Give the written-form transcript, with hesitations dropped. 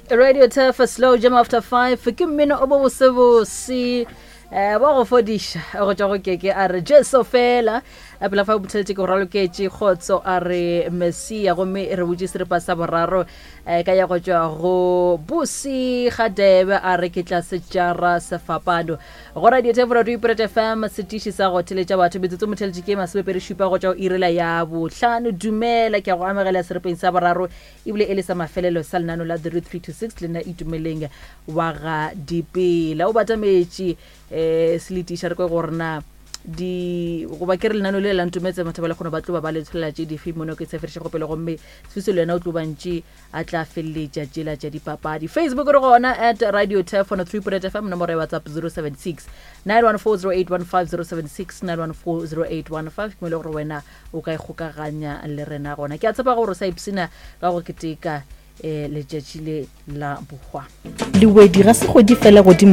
Radio Turf Slow Jam After 5 ke mmino o bobosebose eh wa go fodiša go tšwa go keke a re Jesu fela a pela fa botheletše ke go raloketše kgotso a re Messia gomme re butše seripa sa boraro eh, ka ya go tšwa go Busi Gadebe a re ke tla setšara sefapano go Radio Turf Radio Ipuret FM setiši sa go theletša batho metsotso motheletše ke masomepedi šupa go tšwa go irela ya bohlano dumela ke a go amogela seripeng sa boraro ebile e le sa mafelelo sa lenano la 3326 le nna Itumeleng wa ga Dipela o batametše um seletiša re kwe gore na di goba ke re lenano le la ntometse batho ba le kgone ba tlo ba ba le tsholela tše dife mono ke tshefereše go pele gomme Sfiso le yena o tlo bantše a tla feleletša tšela tša dipapadi. Facebook re gona at radio tef 103.8 FM nomoro ya WhatsApp 076 9140815 076 9140815 ke mo e le gore wena o ka ikgokaganya le rena gona. Ke a tshepa gore o sa ipsina ka go keteka um letšatši le la bohwa. Lewedi ga se kgwedi fela godimo.